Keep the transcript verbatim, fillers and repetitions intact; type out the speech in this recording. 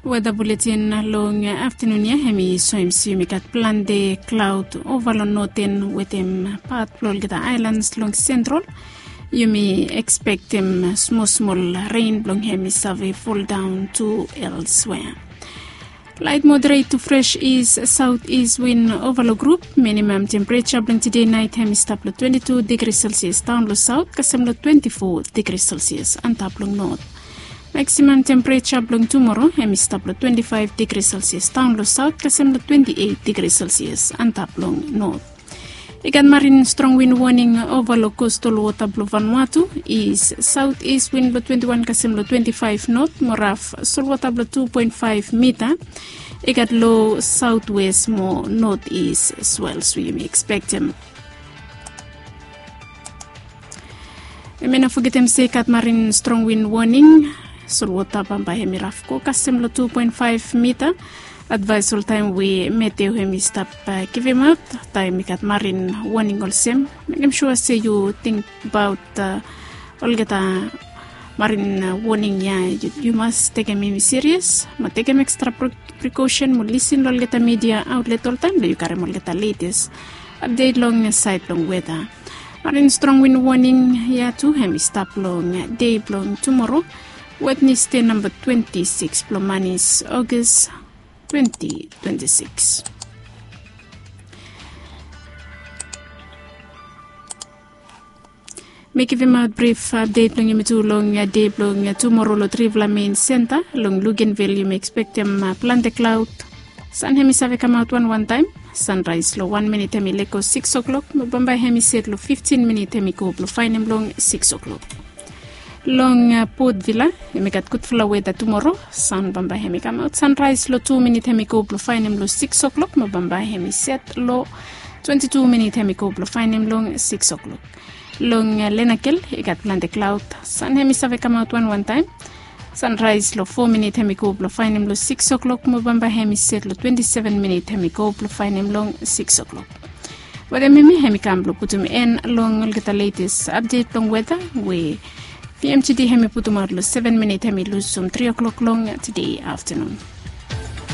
Weta buletin long aftanun ya hem i soem se yumi gat plante klaod ova long noten wetem pat blong olgeta aelans long sentral. Yumi ekspektem smol smol ren blong hem i save foldaon tu elswea. Laet moderet tu fres is saot is win ova long grup. Minimam tempereja blong tede naet hem i stap long twenti tu digri selsias daon long saot kasem long twenti fo digri selsias antap long not. Maksimam tempereja blong tumoro hem i stap long twenti faef digri selsias daon long saot kasem long twenti eit digri selsias antap long not. I gat marin strong win woning ova long kostal wota blong Vanuatu. Is saot is win blong twenti wan kasem long twenti faef not mo raf solwota blong tu poen faef mita. I gat lo saotwes mo not is swels we yumi ekspektem. Yumi no fogetem se i gat marin strong win woning. Solwota bambae hem i raf go kasem long tu poen faef mita. Advaes oltaem we meteo hem i stap givimaot taem i gat marin woning olsem, mekem sua se yu tingbaot olgeta marin woning ya. Yu mas tekem hem i sirias mo tekem ekstra prikosen mo lisin long olgeta midia aotlet oltaem blong yu karim olgeta letes apdet long saed blong weta. Marin strong win woning ya tu hem i stap long dei blong tumoro, wetnesde namba twenti sikis blong manis, ogas twenti twenti sikis. Mi givimaot brif apdet blong yumi tu long dei blong tumoro long trifala mein senta. Long lugenvil yumi ekspektem plante klaod. San hem i save kamaot wanwan taem. Sanraes long wan minit hem i lego sikis oklok mo bambae hem i set long fiftin minit hem i go blong faenem long sikis oklok. Long potvila yumi gat gudfala weta tumoro. San bambae hem i kamaot sanraes long tu minit hem i go blong faenem long sikis oklok mo bambae hem i set long twenti tu minit hem i go blong faenem long sikis oklok. Long lenakel i gat plante klaod. San hem i save kamaot wanwan taem. Sanraes long fo minit hem i go blong faenem long sikis oklok mo bambae hem i set long twenti seven minit hem i go blong faenem long sikis oklok. Wetem hemi hem i kam blong putum en long olgeta letes apdet blong weta we vmtd hem i putumaot long seven minit hem i lusum tri oklok long tede aftanun.